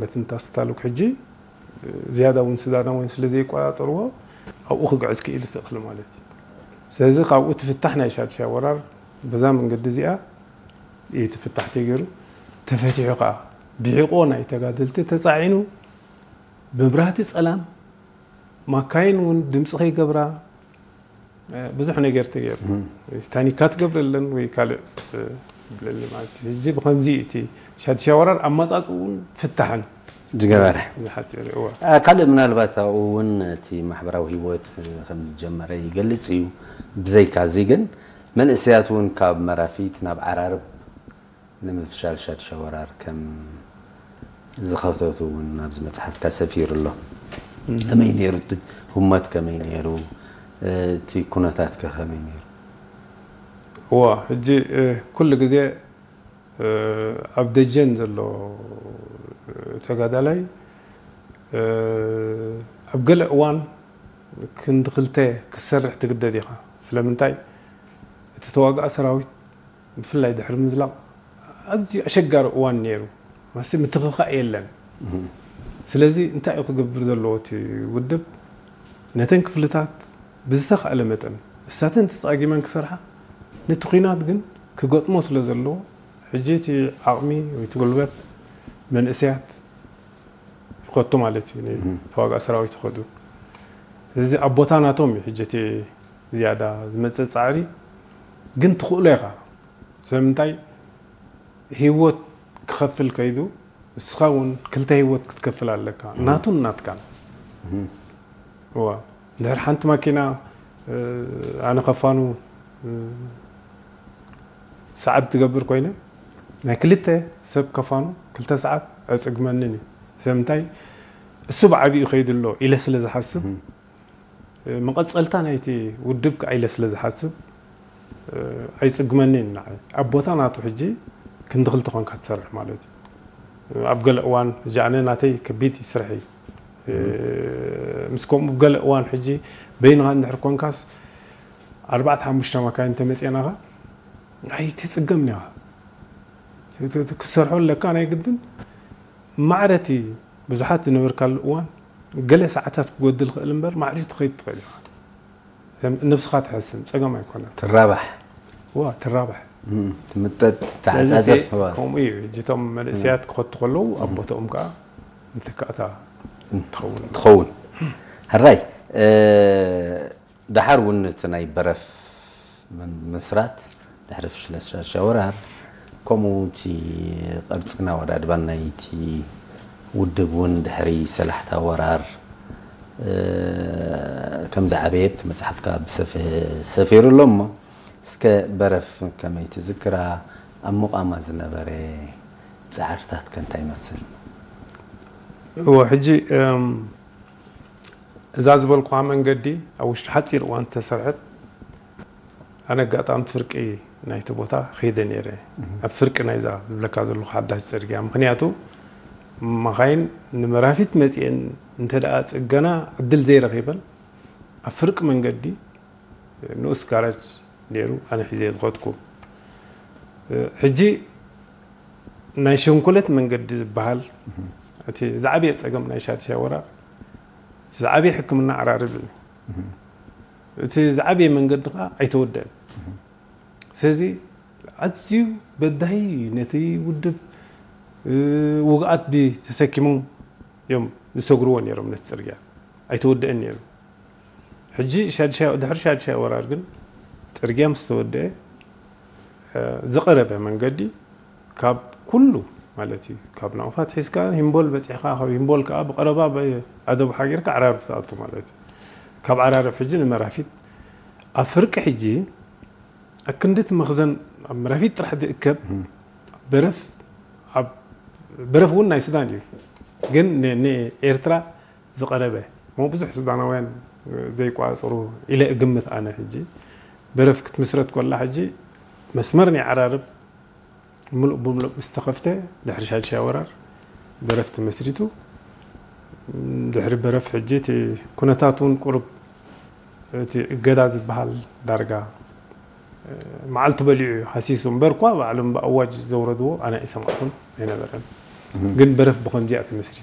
ማለት እንታስታሉክ ሕጂ ዝያዳ እውን ሱዳናውያን ስለ ዘይቆጻጸርዎ ኣብኡ ክግዕዝ ክኢሉ ትእኽል ማለት እዩ። ስለዚ ካብኡ ትፍታሕ ናይ ሻድሻይ ወራር በዛ መንገዲ እዚኣ እዩ ትፍታሕ ተገይሩ። ተፈቲሑ ከዓ ብሒቆ ናይ ተጋደልቲ ተፃዒኑ መብራህቲ ፀላም ማካይን እውን ድምፂ ከይገብራ ብዙሕ ነገር ተገይሩ። ታኒካ ትገብረለን ወይ ካልእ ብለሊ ማለት እዩ። ሕጂ ብከምዚ እቲ ሻድሻይ ወራር ኣመፃፅኡ እውን ፍታሕን ዝገበረ ዝሓፂር እዋ ካልእ ምናልባት ኣብኡ እውን እቲ ማሕበራዊ ህይወት ከም ዝጀመረ ይገልጽ እዩ። ብዘይካ እዚ ግን መንእሰያት እውን ካብ መራፊት ናብ ዓራርብ ንምፍሻል ሻድሻይ ወራር ከም ዝኸተቱ እውን ኣብዚ መፅሓፍካ ሰፊሩ ኣሎ። ከመይ ነይሩ እቲ ህሞት ከመይ ነይሩ እቲ ኩነታት ከ ከመይ ነይሩ? እዋ ሕጂ ኩሉ ግዜ ኣብ ደጀን ዘሎ ተጋዳላይ ኣብ ገለ እዋን ክንዲ ክልተ ክትሰርሕ ትግደድ ኢኻ። ስለምንታይ እቲ ተዋጋኢ ሰራዊት ብፍላይ ድሕሪ ምዝላቕ ኣዝዩ ኣሸጋሪ እዋን ነይሩ። ማሲ ምትኽኻእ የለን። ስለዚ እንታይ እዩ ክገብር ዘለዎ እቲ ውድብ? ነተን ክፍልታት ብዝተኻእለ መጠን እሳተን ተፃጊመን ክሰርሓ ነቲ ኲናት ግን ክገጥሞ ስለ ዘለዎ ሕጂ እቲ ዓቕሚ ወይ እቲ ጉልበት መንእሰያት ይኸቱ ማለት እዩ። ተዋጋእ ሰራዊት ይኸዱ። ስለዚ ኣብ ቦታ ናቶም እዩ ሕጂ እቲ ዝያዳ ዝመፅእ ፃዕሪ ግን ትኽእሎ ኢኻ። ስለምንታይ ህይወት ክኸፍል ከይዱ እስኻ እውን ክልተ ህይወት ክትከፍል ኣለካ ናቱን ናትካን። እዋ ድሕር ሓንቲ ማኪና ኣነ ከፋኑ ሰዓት ትገብር ኮይነ ናይ ክልተ ሰብ ከፋኑ ክልተ ሰዓት ኣይፅግመንን እዩ። ስለምንታይ እሱ ብዓብኡ ከይዱ ኣሎ ኢለ ስለ ዝሓስብ መቐፀልታ ናይቲ ውድብ ከዓ ኢለ ስለ ዝሓስብ ኣይፅግመንን ንዓይ ኣብ ቦታ ናቱ ሕጂ ክንዲ ክልተ ኮንካ ትሰርሕ ማለት እዩ። ኣብ ገለ እዋን ሕጂ ኣነ ናተይ ከቢድ እዩ ስርሐይ ምስ ከምኡ ገለ እዋን ሕጂ በይንኻ እንድሕር ኮንካስ ኣርባዕተ ሓሙሽተ መካይን ተመፅናኻ ኣይትፅገምን ኢኻ ክትሰርሖ ኣለካ ናይ ግድን ማዕረቲ ብዙሓት ዝነበርካሉ እዋን ገለ ሰዓታት ክጎድል ክእል እምበር ማዕሪቱ ትኸይድ ትኽእል ኢኻ። ነብስኻ ትሕስም ፀገም ኣይኮነን። ትራባሕ ዋ ትራባሕ ትምጠጥ ተዓፃፀፍ ከምኡ እዩ። እጅቶም መንእሰያት ክኸቱ ከለዉ ኣብ ቦታኦም ከዓ ንትካእታ ትኸውን። ትኸውን። ሕራይ ደሓር እውን እቲ ናይ በረፍ ምስራት ድሕሪ ፍሽለት ሻድሻይ ወራር ከምኡ እቲ ቅርፅን ኣወዳድባን ናይቲ ውድብ እውን ድሕሪ ሰላሕታ ወራር ከም ዝዓበየ እቲ መፅሓፍካ ብሰፊሕ ሰፊሩ ኣሎ እሞ እስከ በረፍ ከመይ ትዝክራ ኣብ ምቋማ ዝነበረ ፃዕርታት ከ እንታይ ይመስል? እዎ ሕጂ እዛ ዝበልኩኻ መንገዲ ኣብ ውሽጢ ሓፂር እዋን ዝተሰርሐት ኣነ ኣጋጣሚ ፍርቂ ናይቲ ቦታ ከይደ ነይረ ኣብ ፍርቂ ናይዛ ዝብለካ ዘለኹ ሓዳሽ ፅርግያ ምክንያቱ መኻይን ንመራፊት መፅኤን እንተ ደኣ ፅገና ዕድል ዘይረኺበን ኣብ ፍርቂ መንገዲ ንኡስ ጋራጅ ነይሩ ኣነ ሒዘ ዝኸድኩ ሕጂ ናይ ሸንኮለት መንገዲ ዝበሃል እቲ ዝዓበየ ፀገም ናይ ሻድሻይ ወራር ዝዓበየ ሕክምና ዓራርብ እዩ እቲ ዝዓበየ መንገዲ ከዓ ኣይተወደአን ስለዚ ኣዝዩ በዳሂ ነቲ ውድብ ውግኣት ተሰኪሞም እዮም ዝሰግርዎ ነይሮም ነቲ ፅርግያ ኣይተወደአን ነይሩ ሕጂ ድሕሪ ሻድሻይ ወራር ግን ፅርግያ ምስ ተወደአ ዝቐረበ መንገዲ ካብ ኩሉ ማለት እዩ ካብ ናቕፋት ሒዝካ ሂምቦል በፂሕካ ካብ ሂምቦል ከዓ ብቐረባ ኣደቡ ሓጊርካ ዓራርብ ትኣቱ ማለት እዩ ካብ ዓራርብ ሕጂ ንመራፊት ኣብ ፍርቂ ሕጂ ኣብ ክንዲ እቲ መኽዘን ኣብ መራፊት ጥራሕ ዝእከብ በረፍ በረፍ እውን ናይ ሱዳን እዩ ግን ንኤርትራ ዝቐረበ እሞ ብዙሕ ሱዳናውያን ዘይቋፅሩ ኢለ እግምት ኣነ ሕጂ በረፍ ክትምስረት ኮላ ሕጂ መስመር ናይ ዓራርብ ምሉእ ብምሉእ ምስ ተኸፍተ ድሕሪ ሻድሻይ ወራር በረፍ ተመስሪቱ ድሕሪ በረፍ ሕጂ እቲ ኩነታት እውን ቁሩብ እቲ እገዳ ዝበሃል ዳርጋ መዓልቱ በሊዑ እዩ ሃሲሱ እምበር እኳ ባዕሎም ብኣዋጅ ዘውረድዎ ኣነ ኣይሰማዕኩን ኣይነበረን ግን በረፍ ብኸምዚኣ ትመስል